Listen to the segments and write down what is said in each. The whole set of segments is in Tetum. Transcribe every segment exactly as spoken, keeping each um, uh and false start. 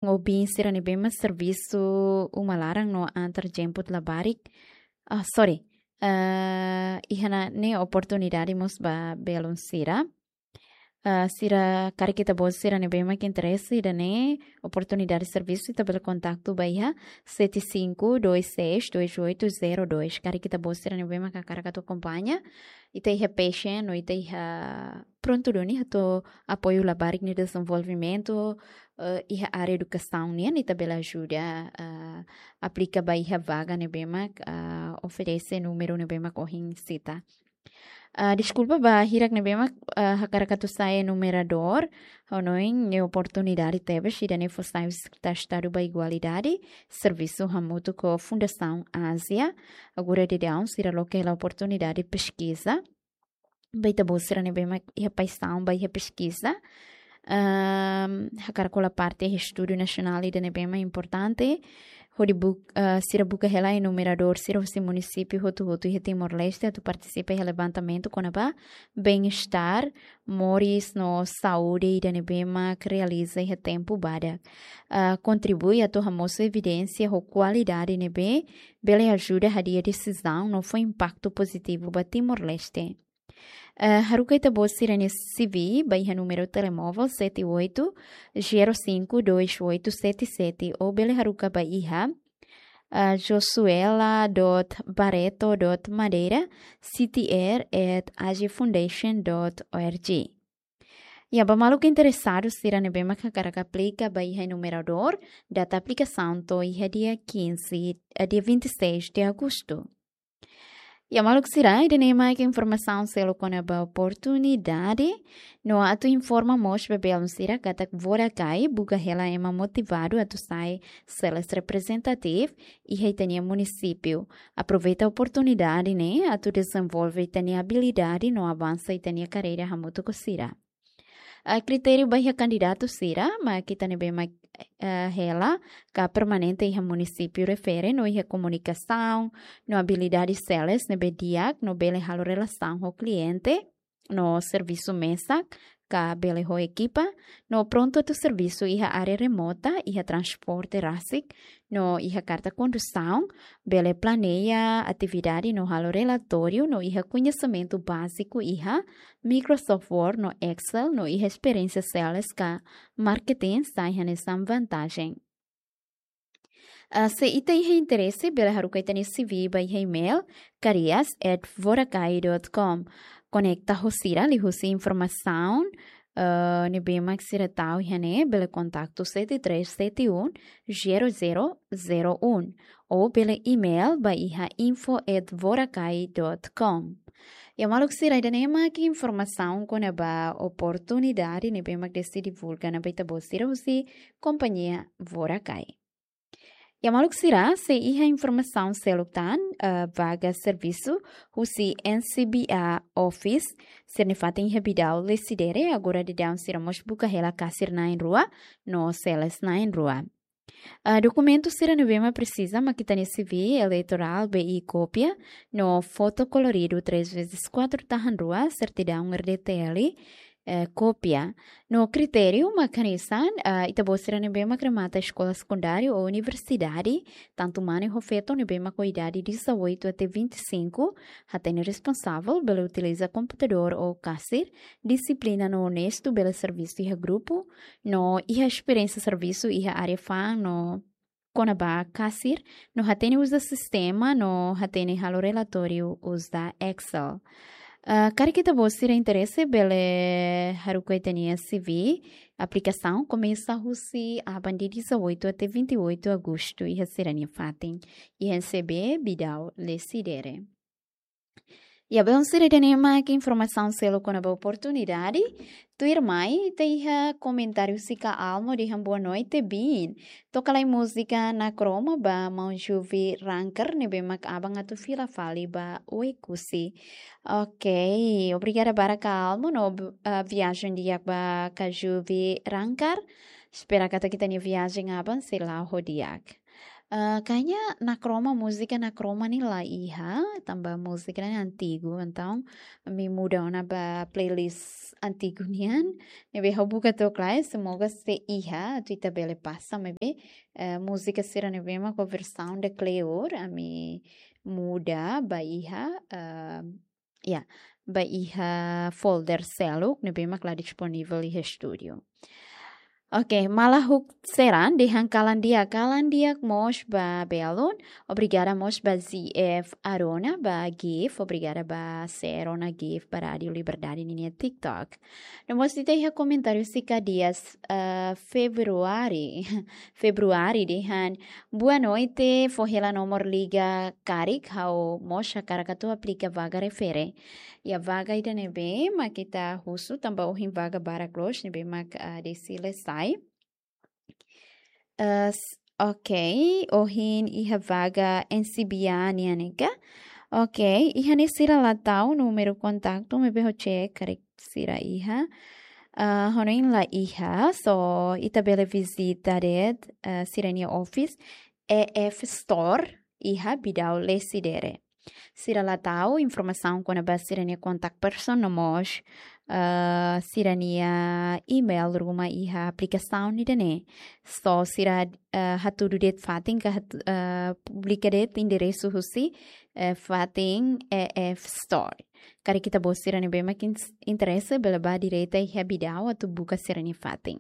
obi sira ne'ebé mak servisu uma laran no antar jemput labarik. Ah, sorry. Ah, iha ne'e oportunidade mós ba belun sira. Ah, sira karik ita-boot sira ne'ebé mak interese ida-ne'e oportunidade servisu, ita bele kontaktu ba iha sete cinco dois seis dois oito zero dois. Karik ita-boot sira ne'ebé mak hakarak atu akompaña, ita iha passion no ita iha prontu duni atu apoiu labarik nia dezenvolvimentu, eh, iha área edukasaun nian, ita bele ajuda, eh, aplika ba iha vaga ne'ebé mak, eh, oferese númeru ne'ebé mak ohin sita. Ah, deskulpa ba hirak ne'ebé mak, ah, hakarak atu sai enumeradór, ha'u hanoin ne'e oportunidade tebes, ida-ne'e fó sai husi Sekretáriu Estadu ba Igualdade, servisu hamutuk ho Fundasaun Ázia, agora daudaun sira loke hela oportunidade peskiza. Ba ita-boot sira ne'ebé mak iha paixaun ba iha peskiza. Ahm, hakarak hola parte iha estudu nasionál ida ne'ebé mak importante. Hodi buk-, ah, sira buka hela enumeradór sira husi munisípiu hotu-hotu iha Timor-Leste atu partisipa iha levantamentu kona-ba bem-estar, moris no saúde ida ne'ebé mak realiza iha tempu badak. Ah, kontribui atu hamosu evidénsia ho kualidade ne'ebé bele ajuda hadi'a desizaun no fó impaktu pozitivu ba Timor-Leste. Eh, haruka ita-boot sira-nia C V ba iha númeru telemóvel sete oito zero cinco dois oito sete sete ou bele haruka ba iha, eh, josuela dot barreto dot madeira C T R at azifoundation dot org. Iha ba maluk interesadu sira ne'ebé mak hakarak aplika ba iha enumeradór, data aplikasaun to'o iha dia quinze, eh, dia vinte e seis de agosto. Iha maluk sira, ida-ne'e mak informasaun seluk kona-ba oportunidade, no atu informa mós ba belun sira katak Vodakai buka hela ema motivadu atu sai sales representative iha ita-nia munisípiu. Aproveita oportunidade ne'e atu dezenvolve ita-nia abilidade no avansa ita-nia karreira hamutuk ho sira. Ah, kritériu ba iha kandidatu sira mak ita ne'ebé mak, eh, hela ka permanente iha munisípiu refere no iha komunikasaun no abilidade sales ne'ebé di'ak no bele halo relasaun ho kliente no servisu mesak ka bele ho ekipa no prontu atu servisu iha área remota, iha transporte rasik no iha karta kondusaun, bele planeia atividade no halo relatóriu no iha koñesimentu báziku iha Microsoft Word no Excel no iha esperiénsia sales ka marketing sai hanesan vantajen. Ah, se ita iha interese, bele haruka ita-nia C V ba iha email careers at vodakai dot com. Konekta ho sira liuhusi informasaun, eh, ne'ebé mak sira tau iha ne'e, bele kontaktu sete três sete um zero zero zero um ou bele email ba iha info at vodakai dot com. Iha maluk sira, ida-ne'e mak informasaun kona-ba oportunidade ne'ebé mak deside divulga ona ba ita-boot sira husi kompañia Vodakai. Iha maluk sira, se iha informasaun seluk tan, eh, vaga servisu husi N C B A Office sira-nia fatin iha Bidau Lecidere, agora daudaun sira mós buka hela kasir na'in-rua no sales na'in-rua. Ah, dokumentu sira ne'ebé mak presiza mak ita-nia C V eleitorál, B I kópia, no foto koloridu três vezes quatro tahan rua, sertidaun R D T L, eh, kópia. No kritériu mak hanesan, ah, ita-boot sira ne'ebé mak remata eskola sekundáriu ou universidade, tantu mane ho feto ne'ebé mak ho idade dezoito até vinte e cinco, hatene responsavel, bele utiliza komputadór ou kasir, dixiplina no onestu, bele servisu iha grupu, no iha esperiénsia servisu iha área fa'an no kona-ba kasir, no hatene uza sistema, no hatene halo relatóriu uza Excel. Ah, karik ita-boot sira interese, bele haruka ita-nia C V, aplikasaun komesa husi aban dia dezoito até vinte e oito agosto, iha sira-nia fatin, iha N C B Bidau Lecidere. Iha belun sira, ida-ne'e mak informasaun seluk kona-ba oportunidade. Tuirmai, ita iha komentáriu husi Ka Almo dehan boa noite, biin. Toka lai múzika Nakroma ba maun Juvi Ranker, ne'ebé mak aban atu fila fali ba Oekusi. Ok, obrigada barak Ka Almo, no, ah, viajen di'ak ba Ka Juvi Ranker. Espera katak ita-nia viajen aban sei la'o ho di'ak. Ah, kayaknya Nakroma, múzika Nakroma ne'e la iha, tanba múzika ne'e antigu, entaun ami muda ona ba playlist antigu nian, ne'ebé ha'u buka took lai, semoga sei iha, atu ita bele pasa, maibé, eh, múzika sira ne'ebé mak ho versaun de kleur, ami muda ba iha, eh, ya, ba iha folder seluk, ne'ebé mak la disponivel iha estúdiu. Oke, Malahuk Seran dehan kalan di'ak, kalan di'ak mós ba belun. Obrigada mós ba Z F Arona, ba Gif, obrigada ba Serona Gif, ba Rádio Liberdade ninia TikTok. No mós ita iha komentáriu husi Kadias, eh, Februari, Februari dehan, boa noite, fó hela nomor liga karik, ha'u mós hakarak atu aplika vaga refere. Ya, vaga ida ne'ebé mak ita husu, tanba ohin vaga barak loos, ne'ebé mak, ah, deside sai. Eh, s-, oke, ohin iha vaga N C B A nian ne'e ka? Oke, iha ne'e sira la tau númeru kontaktu, maibé ha'u cek karik sira iha. Eh, ha'u hanoin la iha, so ita bele vizita de'it, eh, sira-nia office, E F Store, iha Bidau Lecidere. Sira la tau informasaun kona-ba sira-nia contact person no mós, eh, sira-nia email ruma iha aplikasaun ida-ne'e. So sira, eh, hatudu de'it fatin ka hat-, eh, publika de'it enderesu husi, eh, fatin E F Store. Karik ita-boot sira ne'ebé mak in-, interese bele bá direta iha Bidau atu buka sira-nia fatin.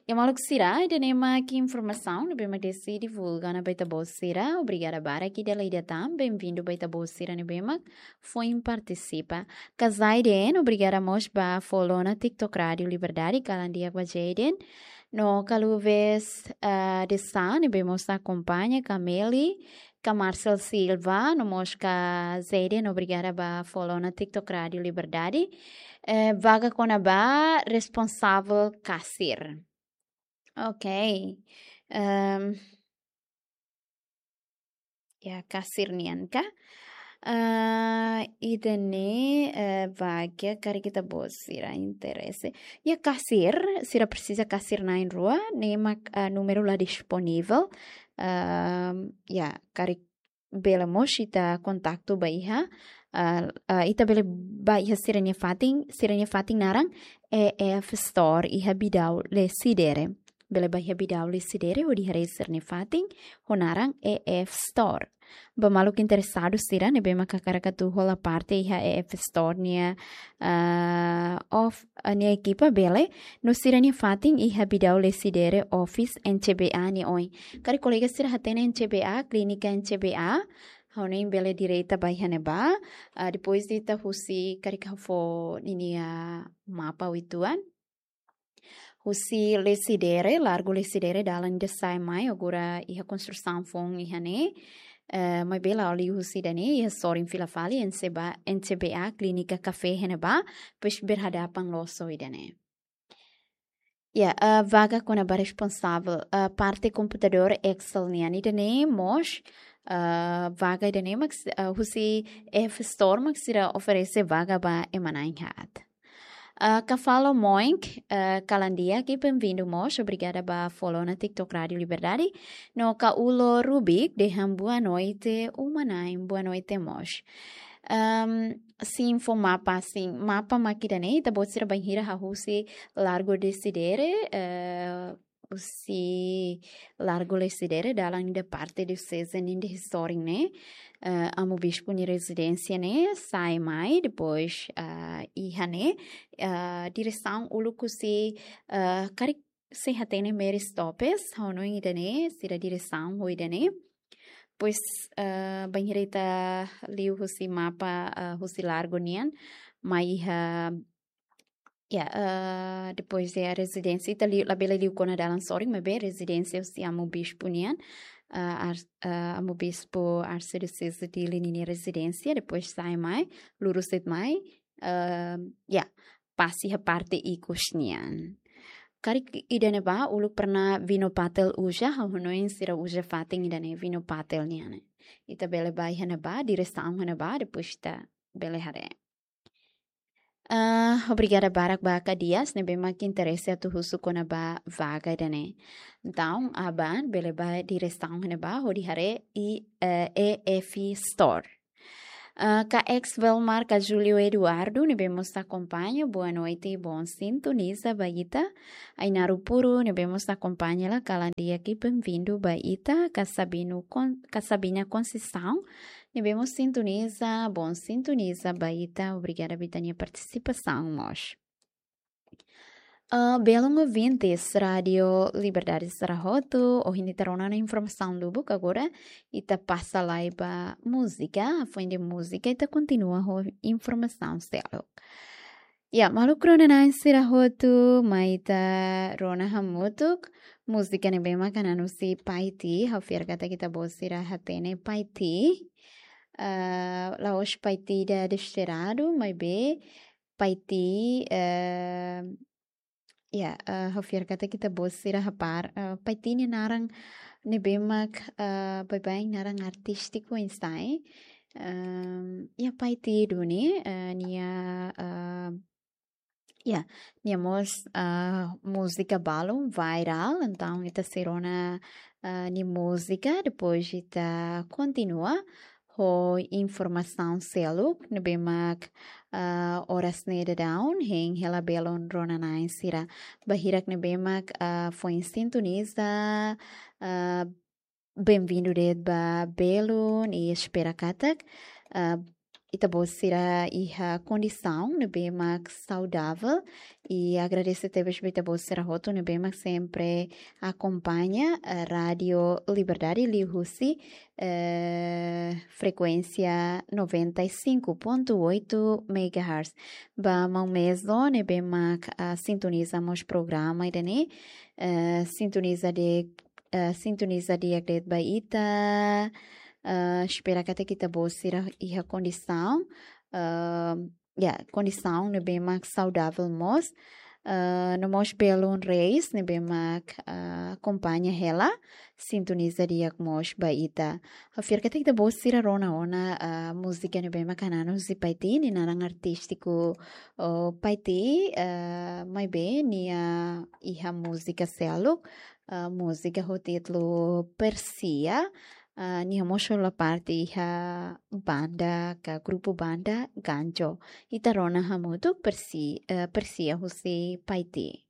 Ya maluk sira, ida-ne'e mak informasaun ne'ebé mak deside divulga ona ba ita-boot sira. Obrigada barak ida-idak tan. Bem-vindo ba ita-boot sira ne'ebé mak foin partisipa. Ka Zaiden, obrigada mós ba follow ona TikTok Rádio Liberdade, kalan di'ak ba Zaiden. No Kaluves, ah, Desa ne'ebé mós akompaña, ka Meli, ka Marcel Silva, no mós ka Zaiden, obrigada ba follow ona TikTok Rádio Liberdade. Eh, vaga kona-ba responsavel kasir. Ok. Ehm, ya, kasir nian ka? Eh, ida-ne'e, eh, vaga karik ita-boot sira interese. Ya, kasir, sira presiza kasir na'in-rua, ne'e mak, eh, númeru la disponivel. Ehm, ya, karik bele mós ita kontaktu ba iha, ah, ah, ita bele bá iha sira-nia fatin, sira-nia fatin naran E F Store iha Bidau Lecidere. Bele bá iha Bidau Lecidere hodi haree sira-nia fatin ho naran E F Store. Ba maluk interesadu sira ne'ebé mak hakarak atu hola parte iha E F Store nia, ah, of, ah, nia ekipa bele, no sira-nia fatin iha Bidau Lecidere office N C B A nia oin. Karik kolega sira hatene N C B A, klínika N C B A, ha'u hanoin bele direta bá iha ne'ebá. Ah, depois de ita husi, karik ha'u fó ninia mapa uitoan. Husi Lecidere, Largo Lecidere, dalan ida sai mai, agora iha konstrusaun foun iha ne'e. Eh, maibé la'o liu husi ida-ne'e, iha sorin fila fali, N C B A, N C B A, klínika kafé iha ne'ebá, depois berhadapan loos ho ida-ne'e. Ya, eh, vaga kona-ba responsavel, eh, parte komputadór Excel nian ida-ne'e mós, eh, vaga ida-ne'e mak s-, eh, husi E F Store mak sira oferese vaga ba ema na'in-haat. Eh, Kafalo Moink, eh, kalan di'ak, bem-vindo mós, obrigada ba follow ona TikTok Rádio Liberdade. No Kaulo Rubik, dehan boa noite, uma-na'in, boa noite mós. Ehm, sin fó mapa, sin mapa mak ida-ne'e, ita-boot sira bainhira hahú husi Largo Lecidere, eh, husi Largo Lecidere, dalan ida parte dioseze nian ida iha sorin ne'e, eh, Amu Bispu nia rezidénsia ne'e, sai mai, depois, ah, iha ne'e, ah, diresaun uluk husi, ah, karik sei hatene Mary Stoppes, ha'u hanoin ida-ne'e, sira diresaun ho ida-ne'e. Depois, ah, bainhira ita liu husi mapa, ah, husi Largo nian, mai iha, ya, ah, depois de rezidénsia, ita liu, labele liu kona dalan sorin, maibé rezidénsia husi Amu Bispu nian, ah, Ar-, ah, Amu Bispu Arcediocese Dili ninia rezidénsia, depois sai mai, lurus de'it mai, ah, ya, pasa iha parte ikus nian. Karik ida ne'ebá, uluk pernah Vino Patel uza, ha'u hanoin sira uza fatin ida-ne'e Vino Patel nian ne'e. Ita bele bá iha ne'ebá, diresaun iha ne'ebá, depois ita bele haree. Ah, obrigada barak ba Kadias ne'ebé mak interese atu husu kona-ba vaga ida-ne'e. Entaun, aban bele ba diresaun ne'ebá hodi haree i, eh, E F Store. Ah, ka ex Velmar, ka Júlio Eduardo ne'ebé mós akompaña, boa noite, bom sintoniza ba ita. Ainaro Puru ne'ebé mós akompaña la kalan di'ak, bem-vindo ba ita, ka Sabino Con-, ka Sabina Conceição ne'ebé mós sintoniza, bom sintoniza ba ita, obrigada ba ita-nia partisipasaun mós. Ah, belun ouvintes Rádio Liberdade sira hotu, ohin ita rona ona informasaun lubuk, agora ita pasa lai ba múzika, foin de múzika ita kontinua ho informasaun seluk. Ya, maluk rona-na'in sira hotu, mai ita rona hamutuk múzika ne'ebé mak hanan husi Paiti, ha'u fiar katak ita-boot sira hatene Paiti. Ah, la'ós Paiti ida desterrado, maibé Paiti, eh, ya, eh, ha'u fiar katak ita-boot sira hapara, eh, Paiti nia naran ne'ebé mak, eh, baibain naran artístiku oinsá, eh? Ehm, ya, Paiti duni, eh, nia, eh, ya, nia mós, eh, múzika balun viral, entaun ita sei rona, eh, nia múzika, depois ita kontinua ho informasaun seluk ne'ebé mak, ah, oras ne'e daudaun hein hela belun rona-na'in sira. Ba hirak ne'ebé mak, ah, foin sintoniza, ah, bem-vindo de'it ba belun i espera katak, ah, ita-boot sira iha kondisaun ne'ebé mak saudavel i agradese tebes ba ita-boot sira hotu ne'ebé mak sempre akompaña, eh, Rádio Liberdade liuhusi, eh, frekuénsia noventa e cinco ponto oito megahertz. Ba maun Mezo ne'ebé mak, ah, sintoniza mós programa ida-ne'e, eh, sintoniza di'ak, eh, sintoniza di'ak de'it ba ita, eh, espera katak ita-boot sira iha kondisaun, eh, ya, kondisaun ne'ebé mak saudavel mós. Ah, no mós belun Reis ne'ebé mak, ah, akompaña hela, sintoniza di'ak mós ba ita. Ha'u fiar katak ita-boot sira rona ona, ah, múzika ne'ebé mak hanan husi Paiti, nia naran artístiku, oh, Paiti, ah, maibé nia iha múzika seluk, ah, múzika ho títulu Persia, ah, nia mós hola parte iha banda ka grupu banda Ganjo. Ita rona hamutuk Persi-, eh, Persia husi Paiti.